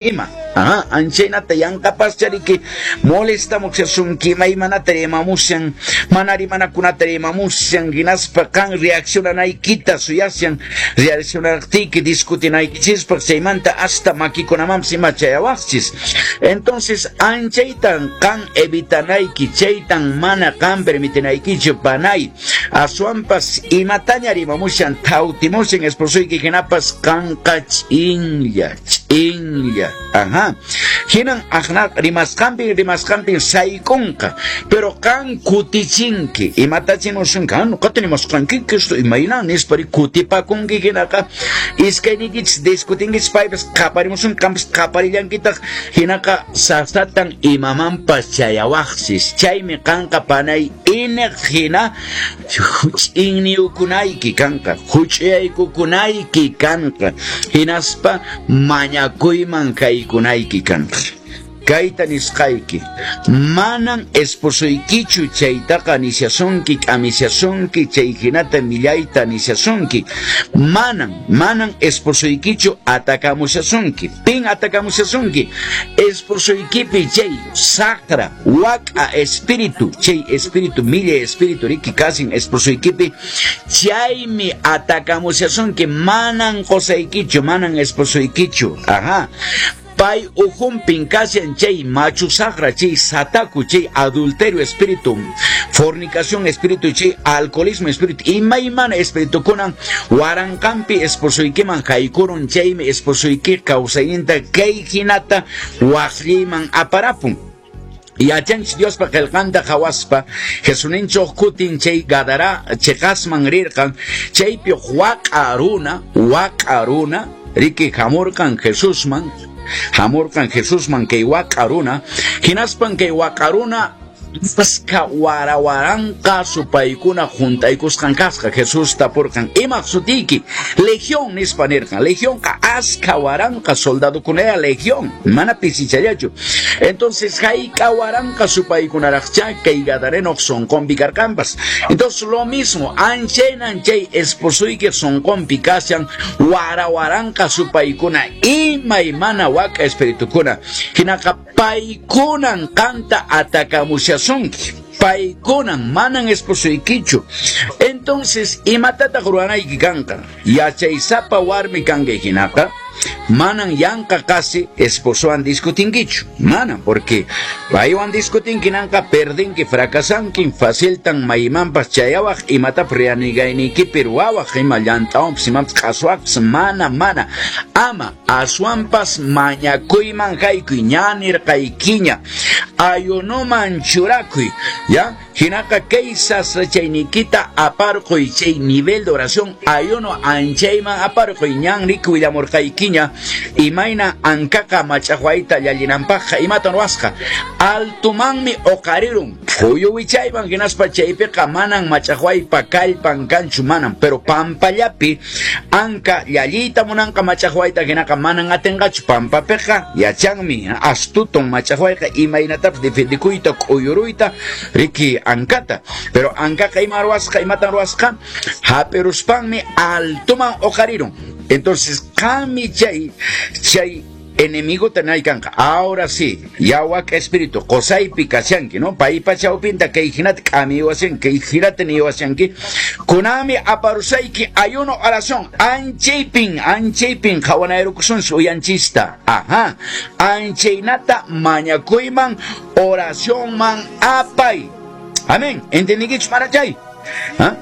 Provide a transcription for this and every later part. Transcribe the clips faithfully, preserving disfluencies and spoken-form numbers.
Ima. Aha, anchaynata yanqapaschariki molestamushasunki, imaymanata rimamushan, mana rimanakunata rimamushan, hinaspa qan reaccionanaykita suyashan, reaccionaqtiyki discutinaykichispaq, chaymanta hasta makikunamanpas ima chayawaqchis. Entonces, anchaytan qan evitanayki, chaytan mana qan permitinaykichu, panay. Aswanpas imataña rimamushan, thawtimushan esposoyki hinapas qanqa ch'inlla, ch'inlla. Ajá. Hinan aqna rimasqanpi rimasqanpi saykunqa, pero qan kutichinki, imatachimusunqa, nuqata nimasqanki esto imayna nispa kutipakunki hinaqa iskayniykichis discutinkichis paypas qaparimusun qanpas qaparillankitaq hinaqa sasatan imamanpas chayawaqsis. Chaymi qanqa panay iniq hina ch'inniyukunayki kanqa, huch'uyaykukunayki kanqa, hinaspa mañakuyman kaykunayki kanqa. Kayta nisqayki, manan esposoykichu chaytaqa nishasunki, k'amishasunki, chay hinata millayta nishasunki. Manan, manan esposoykichu atakamushasunki. Pin atakamushasunki? Esposoykipi chay saqra wak'a espíritu, chay espíritu, millay espíritu riki kasin esposoykipi, chaymi atakamushasunki. Manan qosaykichu, manan esposoykichu. Ajá. Pay ujumpin kashan chay machu saqra, chay sataku, chay adulterio espíritu, fornicación espíritu, chay alcoholismo espíritu, imaymana espíritu kunan waranqanpi esposoykiman haykurun, chaymi esposoyki kawsayninta kay hinata waqlliman aparapun. Yachanchis Diospa qillqanta qhawaspa Jesuninchoj kutin chay Gadara cheqasman rirqan, chaypi waq'a runa, waq'a runa riki hamurqan Jesusman, hamurqan Jesusman kay waq'a runa, hinaspan kay waq'a runa askha warawaranqa supaykuna juntaykusqan kasqa. Jesús tapurqan, imaq sutiyki? Legión nispa nirqan. Legionqa askha waranqa soldadokunaya legión, mana pisichallachu. Entonces hayk'a waranqa supaykunaraqcha kay gadarenoq sonqonpi karqanpas. Entonces lo mismo, anchaynan chay esposoyki sonqonpi kashan warawaranqa supaykuna, imaymana wak'a espiritukuna. Hinaqa paykunan qanta atakamushasunki, paykunan manan esposoykichu. Entonces imatataq ruwanayki kanqa? Yachaysapa warmi kanki hinaqa manan yanqa qasi esposowan discutinkichu, manan, porque paywan discutinki nanqa perdinki, fracasanki, faciltan maymanpas chayawaq, imatapas rianigaynikipi ruwawaq, ima llant'awanpas imapas q'aswaqpas, mana, mana, ama aswanpas mañakuyman haykuy, ña nirqaykiña, ayunoman churakuy, ya, hinaqa kay sasachayniykita aparquy, chay nivel de oración ayuno anchayman aparquy, ñan riki willamurqaykiña imayna ankaqa mach'aqwayta llallinanpaqqa imatan ruwasqa, altumanmi uqarirun phuyu wichayman, hinaspa chaypiqa manan mach'aqwaypa kallpan kanchu, manan, pero pampallapi anka llalliyta munanqa mach'aqwayta hinaqa manan atinqachu, pampapiqa yachanmi astuton mach'aqwayqa imaynatapas defendikuyta k'uyuruyta riki ankata, pero ankaqa ima ruwasqa, imatan ruwasqa, hap'iruspanmi altuman uqarirun. Entonces qanmi chay chay enemigo tenay kanqa. Ahora sí, ya wak espíritu qosaypi kashanki, ¿no? Paypa chawpinta kay hinata k'amiwashanki, kay hinata niwashanki, kunami aparusayki ayuno oración, anchaypin, anchaypin qhawanayrukusunchis uyanchista. Ajá, anchaynata mañakuyman oracionman apay. Amén. ¿Entendinkichu mana chay? ¿Ah?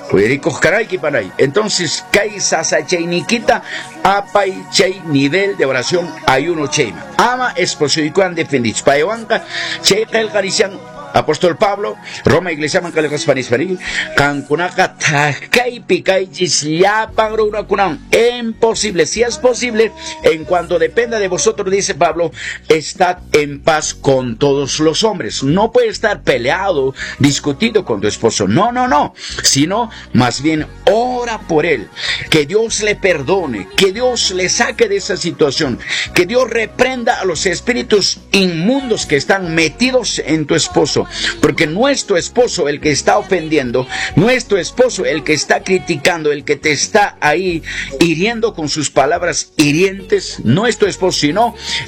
Uyarikuq karayki panay. Entonces, kay sasachayniykita apay chay nivel de oración ayuno chayman. Ama esposoykuwan defendich. Paywanqa chay qillqa nishan Apóstol Pablo, Roma iglesiaman qillqaspa nispa qankunaqa thakaypi kaychis llapan runakunawan. Imposible, si es posible, en cuanto dependa de vosotros, dice Pablo, estad en paz con todos los hombres. No puede estar peleado, discutido con tu esposo. No, no, no. Sino, más bien, ora por él. Que Dios le perdone, que Dios le saque de esa situación, que Dios reprenda a los espíritus inmundos que están metidos en tu esposo. esposo, porque no es tu esposo el que está ofendiendo, no es tu esposo el que está criticando, el que te está ahí hiriendo con sus palabras hirientes, no es tu esposo, sino